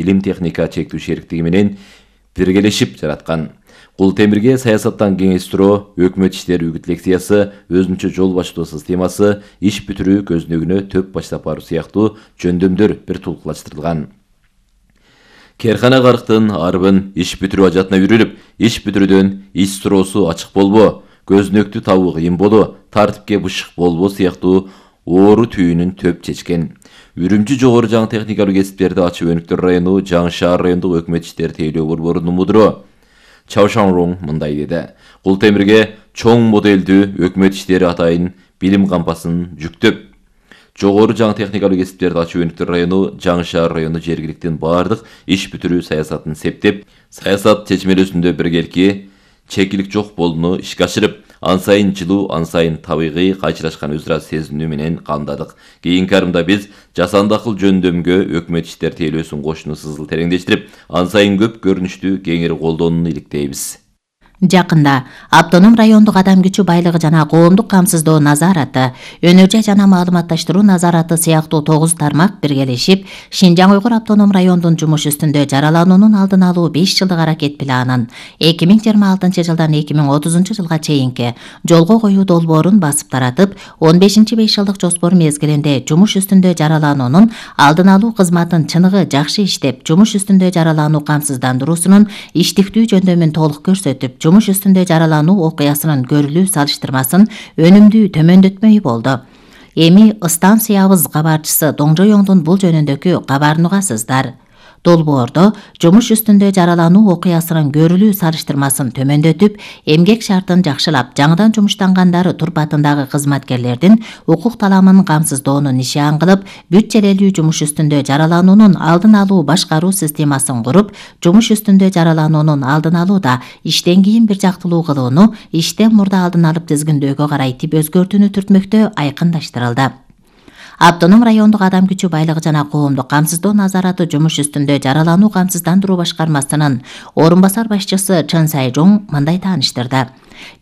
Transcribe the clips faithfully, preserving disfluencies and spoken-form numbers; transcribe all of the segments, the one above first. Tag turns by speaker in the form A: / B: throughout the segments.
A: илим техника чектүү шериктиги менен биргелешип жараткан. Кул темирге саясаттан кеңештирүү, өкмөт иштери үгүт лекциясы, өзүнчө жол баштоо системасы, иш бүтүрүү көзүнөгүнө төп баштап баруу сыяктуу жөндөмдөр бир тулкулаштырылган. Керкана карыктын арбын иш бүтүрүү ажатына үйрүлүп, иш бүтүрүүдөн ич суроосу ачык болбоо, көзүнөктү табуу кыйын болуу, тартипке бышык болбоо сыяктуу оору түйүнүн төп чечкен. Үрүмчү жогору жаңы техникалык кесиптерди ачуу өнүктөр району жаңы шаар райондук өкмөт иштери тейлөө борборунун мудуру Чао Шанрong мындай деди. Кул темирге чоң моделдүү өкмөт иштери атайын билим кампасын жүктөп, жогору жаңы техникалык кесиптерди ачуу өнүктөр району жаңы шаар району жергиликтин баардык иш бүтүрүү саясатын септеп, саясат чечмелөөсүндө биргелики чекилик жок болууну ишке ашырып, ан сайын жылуу, ан сайын табигый кайчылашкан өз ыра сезинүү менен камдадык. Кийинки арымда биз жасанды акыл жөндөмгө өкмөт иштери тейлөөсүн кошууну сызыл тереңдештирип, ан сайын көп көрүнүштүү кеңири колдонууну иликтейбиз.
B: Жакында автоном райондук адам күчү байлыгы жана коомдук камсыздоо назараты, өнөр жай жана маалыматташтыруу назараты сыяктуу тогуз тармак биргелешип, Шинжаң Уйгур автоном райондун жумуш үстүндө жаралануунун алдын алуу беш жылдык аракет планын эки миң жыйырма алтынчы жылдан эки миң отузунчу жылга чейинки жолго коюу долбоорун басып таратып, он бешинчи беш жылдык жоспор мезгилинде жумуш үстүндө жаралануунун алдын алуу кызматын чыныгы жакшы иштеп, жумуш үстүндө жаралануу камсыздандыруусунун иштиктүү жөндөмүн толук көрсөтүп, жумуш үстүндө жаралануу окуясынын көрүлүү салыштырмасын өнүмдүү төмөндөтмөй болду. Эми станциябыз кабарчысы Доңжоёңдун бул жөнүндөгү кабарын угасыздар. Долбоордо жумуш үстүндө жаралануу окуясынын көрүлүү салыштырмасын төмөндөтүп, эмгек шартын жакшылап, жаңыдан жумуштангандары турпатындагы кызматкерлердин укук таламын камсыздоону нишан кылып, бүт желелүү жумуш үстүндө жаралануунун алдын алуу башкаруу системасын куруп, жумуш үстүндө жаралануунун алдын алууда иштен кийин бир жактылуу кылууну иштен мурда алдын алып тизгиндөөгө карай тип өзгөртүүнү түртмөктө айкындаштырылды. Автоном райондук адам күчү байлыгы жана коомдук камсыздоо назараты жумуш үстүндө жаралануу камсыздандыруу башкармасынын орун басар башчысы Чын Сайжоң мындай тааныштырды.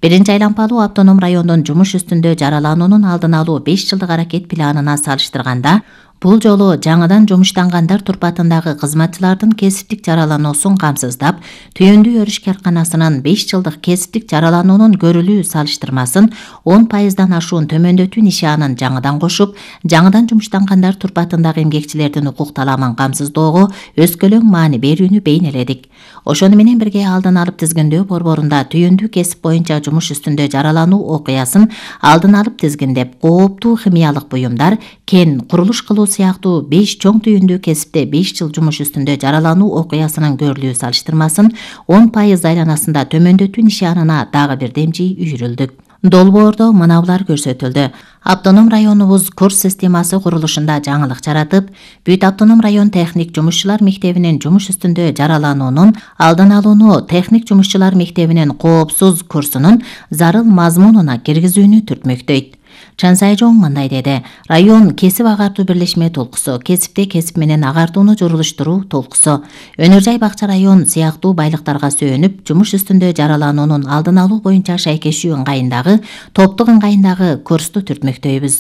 B: Биринчи айлампалуу автоном райондун жумуш үстүндө жаралануунун алдын алуу беш жылдык аракет планына салыштырганда, бул жолу жаңыдан жумуштангандар турпатындагы кызматчылардын кесиптик жаралануусун камсыздап, түйүндүү өрүш карканасынын беш жылдык кесиптик жаралануунун көрүлүү салыштырмасын он пайыздан ашуун төмөндөтүү нишанын жаңыдан кошуп, жаңыдан жумуштангандар турпатындагы эмгекчилердин укук таламын камсыздоого өскөлөң маани берүүнү бейнеледик. Ошону менен бирге алдын алып тизгиндөө борборунда түйүндүү кесип боюнча жумуш үстүндө жаралануу окуясын алдын алып тизгиндеп, кооптуу химиялык буюмдар, кен, курулуш кылуу сыяктуу беш чоң түйүндүү кесипте беш жыл жумуш үстүндө жаралануу окуясынын көрүлүү салыштырмасын он пайыз айланасында төмөндөтүү нишанына дагы бир демжи үйрүлдүк. Долбоордо мынабулар көрсөтүлдү. Автоном районубуз курс системасы курулушунда жаңылык жаратып, бүт автоном район техник жумушчулар мектебинин жумуш үстүндө жаралануунун алдын алууну техник жумушчулар мектебинин коопсуз курсунун зарыл мазмунуна киргизүүнү түртмөктөйт. Чын Сайжоң мындай деди. Район кесип агартуу бирлешме толкусу, кесипте кесип менен агартууну журулуштуруу толкусу, өнөр жай бакча район сыяктуу байлыктарга сөөнүп, жумуш үстүндө жаралануунун алдын алуу боюнча шайкешүү ыңгайындагы, топтук ыңгайындагы курсту түртмөктөйбүз.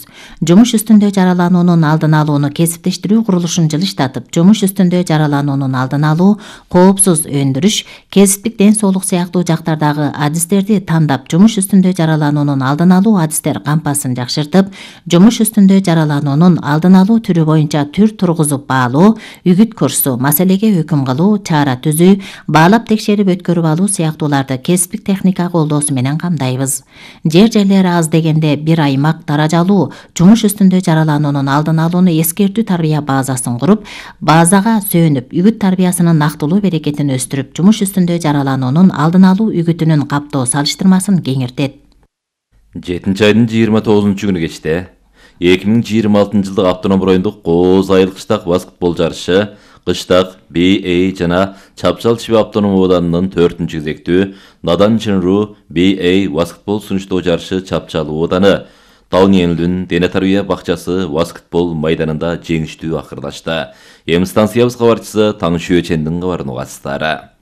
B: Жумуш үстүндө жаралануунун алдын алууну кесиптештирүү курулушун жылыштатып, жумуш үстүндө жаралануунун алдын алуу, коопсуз өндүрүш, кесиптик ден соолук сыяктуу жактардагы адистерди тандап, жумуш үстүндө жаралануунун алдын алуу адистер кампасын жакшыртып, жумуш үстүндө жаралануунун алдын алуу түрү боюнча түр тургузуп баалоо, үгүт курсу, маселеге өкүм кылуу, чара түзүү, баалап текшерип өткөрүп алуу сыяктууларды кесиптик техника колдоосу менен камдайбыз. Жер жерлери аз дегенде бир аймак даражалуу жумуш үстүндө жаралануунун алдын алууну эскертүү тарбия базасын куруп, базага сөөнүп, үгүт тарбиясынын нактылуу берекетин өстүрүп, жумуш үстүндө жаралануунун алдын алуу үгүтүнүн каптоо салыштырмасын кеңиртет.
A: жетинчи айдын жыйырма тогузунчу күнү кечте эки миң жыйырма алтынчы жылдык автоном райондук Кооз айыл кыштак баскетбол жарышы Кыштак би эй жана Чапчал Чиби автоном ооданынын төртүнчү кезектүү Надан Чынруу би эй баскетбол сунуштоо жарышы Чапчал ооданы Тауньелдүн дене тарбия бакчасы баскетбол майданында жеңиштүү акырдашты. Эми станциябыз кабарчысы Таң Шүйөчендин кабарын угасыздар.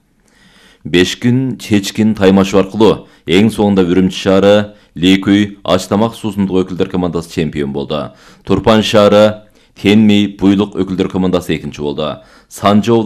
A: беш күн чечкин таймашуу аркылуу эң соңунда Үрүмчү шаары Лейкүй Ачтамак суусундук өкүлдөр командасы чемпион болду. Турпан шаары Тенми Буйлук өкүлдөр командасы экинчи болду. Санжы